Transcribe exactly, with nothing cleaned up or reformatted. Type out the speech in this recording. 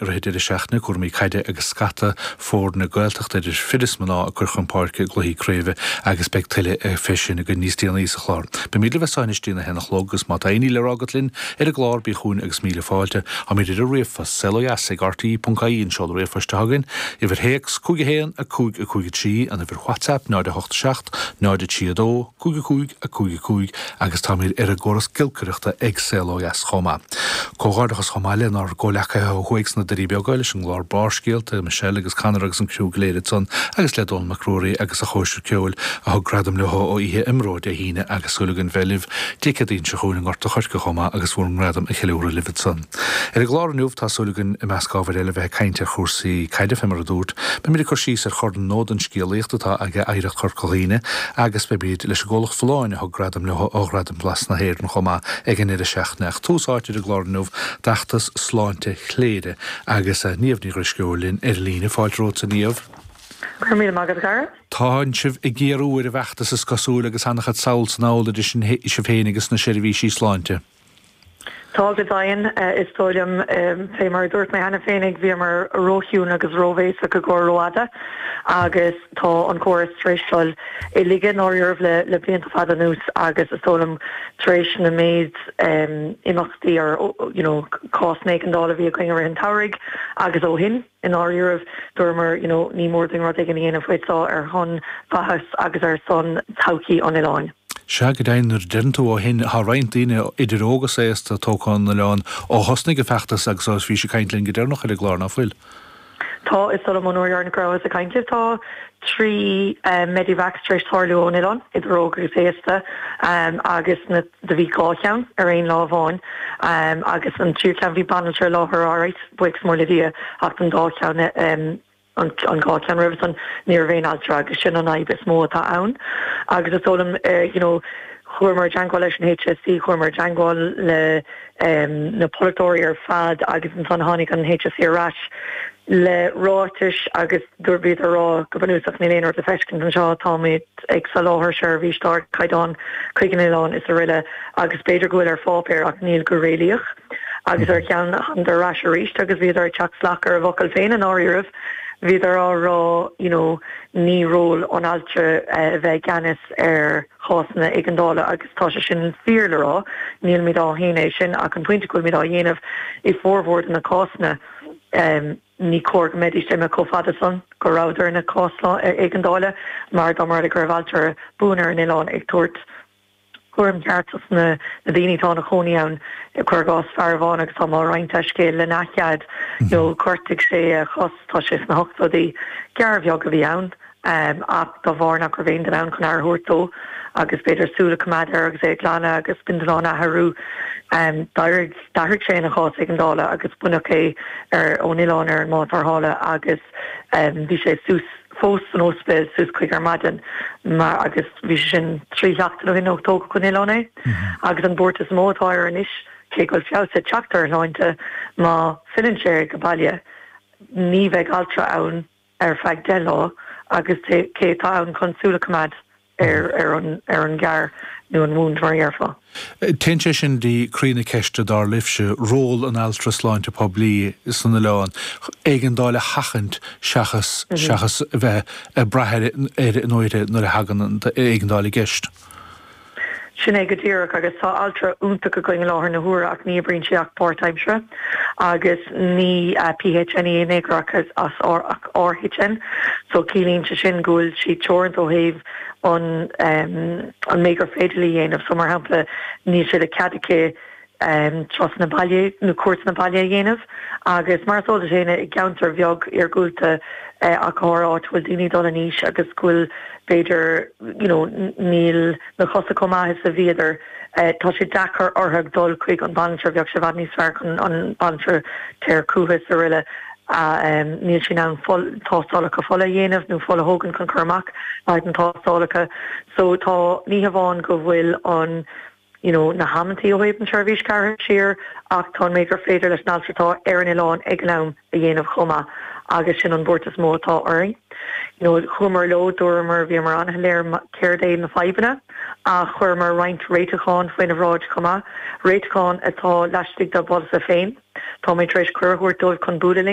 i rith deireadh seachtaine, cúraimí caide agus scata foirne Gaeltachta idir fir is mná ag cur chun páirce i gcluichí craoibhe agus beidh tuilleadh fé sin againn níos déanaí sa chlár. Beimid libh as seo anois dtí'n a haon a chlog agus má tá aon ní le rá agat linn ar an gclár bí chugainn agus míle fáilte. Táimid ar an ríomhphost, saolodheas ag rte ponc ie an seoladh ríomhphoist atá againn, uimhir théacs cúig a haon a cúig a cúig a trí, an uimhir WhatsApp náid a hocht a seacht náid a trí a dó cúig a cúig a cúig a cúig agus táimid ar an gcóras giolcaireachta ag Saol Ó Dheas chomh maith. Comhghairdeachas chomh maith lenár gcomhleacaithe ó thuaidh sna Doirí Beaga leis an gclár Barrscéalta, Michelle agus Conor agus an criú go léir ansan agus le Dónall Mac Ruairí agus a chóisir ceoil a thug gradam leo ó oíche IMRO Dé hAoine agus súil againn bheith libh Dé Céadaoin seo chugainn i nGort a' Choirce chomh maith agus bhur ngradam a cheiliúradh libh ansan. Ar an gclár inniu tá súil againn i measc ábhair eile bheith ag caint ar chúrsaí caide fé mar a dúrt. Beimid ag cur síos ar Chorn Nódan Scéalaíochta atá ag Oidhreacht Chorca Dhuibhne agus beimid leis an gcomhlacht Folláin a thug gradam leo ó Ghradaim Blas na hÉireann chomh maith ag an ndeireadh seachtaine. Ach tús áite ar an gclár inniu d'fheachtas Sláinte Chléire agus Niamh Ní Dhrisceoil linn ar líne. Fáilte romhat a Niamh. Go raibh míle maith agat a chara. Tánn sibh ag géarú ar an bhfeachtas is cosúil agus an-chuid sall 's anall idir sibh féin agus na seirbhísí sláinte. Tá go deimhin, is dóigh liom, fé mar a dúirt mé cheana féinig, bhíomar róchiúin agus róbhéasach i gcomhair rófhada agus tá an córas tar éis dul i laige i ndáiríribh le le blianta fada anuas agus is dóigh liom tar éis na méid imeachtaí or you know cásanna éigeandála a bhí againn i rith an tsamhraidh agus ó shin i ndáiríribh dúramar you know ní mór dúinn rud éigin a dhéanamh faoi seo ar shon mhaitheas agus ar son todhchaí an oileáin. Sea, go deimhin, nuair a deireann tú ó shin, tá roinnt daoine, idir óg is aosta, tógtha ón oileán ó thosnaigh an feachtas agus ó bhís ag caint linn go deireanach ar an gclár, ná fuil? Tá, is dóigh liom ón uair dheireanach go rabhas ag caint libh, tá trí Medivacs tar éis tarlú ón oileán, idir óg agus aosta, agus na, do bhí dhá cheann ar aon lá amháin, agus an tríú ceann bhí banaltra i láthair alright, buíochas mór le Dia, ach don dá cheann, an dhá cheann roimhe san, ní raibh aon altra agus sin an fhadhb is mó atá ann. Agus is dóigh liom, you know, chuamar i dteangmháil leis an HSE, chuamar i dteangmháil le na polaiteoirí ar fad agus ansan tháinig an HSE ar ais le ráitis agus dúirt bhíodar ag rá go bunúsach níl aon rud le feiscint anseo, táimid ag soláthar seirbhís d'ardchaighdeán chuig an oileán is aroile agus b'fhéidir go bhfuil ar pháipéar ach níl go réalaíoch. Agus ar cheann thánadar ar ais arís agus bhíodar ag teacht salach ar a bhfocail féin i ndáiríribh. Bhíodar á rá you know ní ról an altra a bheith i gceannas ar chásanna éigeandála agus tá sé sin fíor le rá, nílimid á shéanadh é sin ach an pointe go bhfuilimid á dhéanamh i formhór de na cásanna ní cóir go mbeidís imithe chomh fada san go rabhadar ina cás éigeandála mar dá mba rud é go raibh altra buan ar an oileán ag tabhairt cúram ceart dos na daoine atá ina chónaí ann. Cuir i gcás fear amháin agus tá mé á roinnt a scéal lena chead, you know ghortaigh sé a chos, tá sé sna hochtóidí, gearr bheag a bhí ann ach dá bharr nach raibh aon duine ann chun aire a thabhairt dó agus b'fhéidir súil a choimeád air agus é a ghlanadh agus bindealán a athrú, d'éirigh, d'athraigh sé ina chás éigeandála agus baineadh é ar ón oileán ar an mbád tarrthála agus bhí sé suas fós san ospidéal suas chuig ar maidin mar agus bhí sé sin trí sheachtain ó shin ó tógadh ón oileán é agus an buairt is mó atá air anois cé go bhfuil feabhas ag teacht ar a shláinte má filleann sé go baile ní bheidh altra ann ar feadh deich lá agus cé atá ann chun súil a choimeád ar ar an ar an ghearr nó an wound mar a dhéarfá. Téann sé sin dtí croí na ceiste dar libhse, ról an altra sláinte poiblí san oileán, éigeandáil a sheachaint seachas seachas a bheith ag brath air air nó uirthi nuair a thagann an éigeandáil i gceist. Sin é go díreach agus tá altra iontach againn i láthair na huaire ach ní oibríonn sí ach páirtaimseartha agus ní PHN í in aon chor ach ach RHN so ciallaíonn sé sin go bhfuil sí teoranta ó thaobh an an méid gur féidir léi a dhéanamh so mar shampla níl sé de chead aici turasanna baile nó cuairteanna baile a dhéanamh agus mar is eol duit féin i gceantar bheag iargúlta ach go háirithe áit a bhfuil daoine ag dul in aois agus go bhfuil b'fhéidir you know níl na cosa chomh maith is a bhíodar tá sé deacair orthu dul chuig an banaltra bheadh sé i bhfad níos fearr chun an banaltra téir chucu is aroile a níl sí in ann fuil tástálacha fola a dhéanamh nó fuil a thógaint chun cur amach le haghaidh na tástálacha so tá ní hamháin go bhfuil an you know na hamantaí ó thaobh an tseirbhís gearrtha siar ach tá an méid gur féidir leis an altra atá ar an oileán ag an am a dhéanamh chomh maith agus sin an buairt is mó atá orainn. You know chuamar leo, dúramar, bhíomar an-shoiléir céard é na fadhbanna ach chuireamar roinnt réiteachán faoina bhráid chomh maith, réiteachán atá laistigh dá bpolasaithe féin. Táimid tar éis cuireadh a thabhairt dóibh chun bualadh linn.